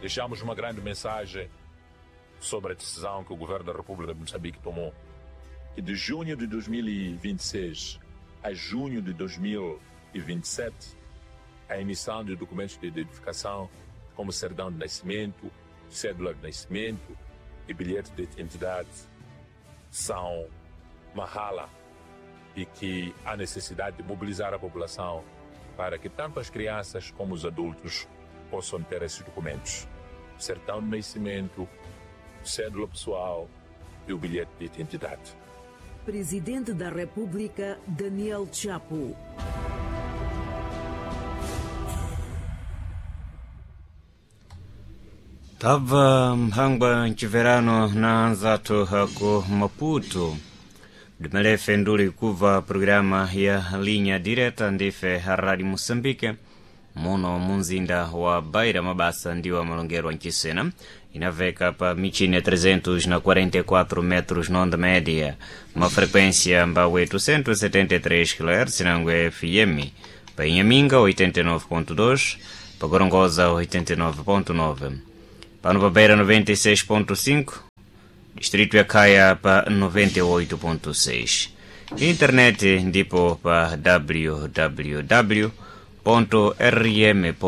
Deixamos uma grande mensagem sobre a decisão que o governo da República de Moçambique tomou, que de junho de 2026 a junho de 2027, a emissão de documentos de identificação, como certidão de nascimento, cédula de nascimento e bilhete de identidade, são mahala e que há necessidade de mobilizar a população para que tanto as crianças como os adultos possam ter esses documentos. Certidão de nascimento, cédula pessoal e o bilhete de identidade. Presidente da República, Daniel Chapo. Tabva mphangwa mciverano na anzathu ku Maputo dimalefe nduli kubva programa ya linha direta ndife Rádio Moçambique muno munzinda wa Beira mabasa ndiwo amalongerwa mchisena inaveka pa michine 344 metros na onda média, uma frequência mba 873 kHz nangwe FM, pa Inhaminga 89.2, pa Gorongosa 89.9, pano pa Beira 96.5, distrito ya Caia pa 98.6, internet ndipo pa www rm.co.mz.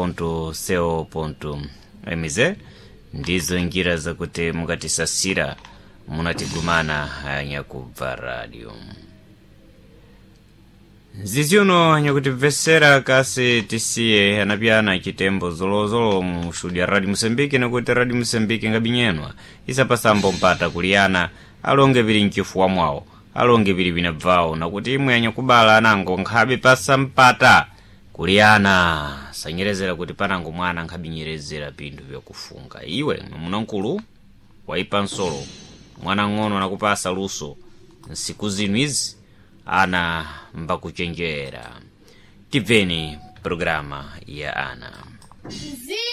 Ndizo njira zakuti mukatisasira munatigumana nyakubva radio nziziuno nyakutibvesera kasi tisiye anapyana chitembo zolozolo mu studio ya Radio Mosambike, nekuti Radio Mosambike ngabinyenwa isapasambo mpata kuliyana alonge vili mchifuwa mwawo, alonge vili vinabvawo, nakuti imwe anyakubala anango nkhabe pasa mpata kuliyana sanyerezera kuti panango mwana nkhabinyerezera pinthu vyakufunga. Iwe mwamuna waipa nsolo, mwana ng'ono nakupasa luso nsiku zinu izi ana mbakuchenjera. Tibveni programa ya ana. Mziki.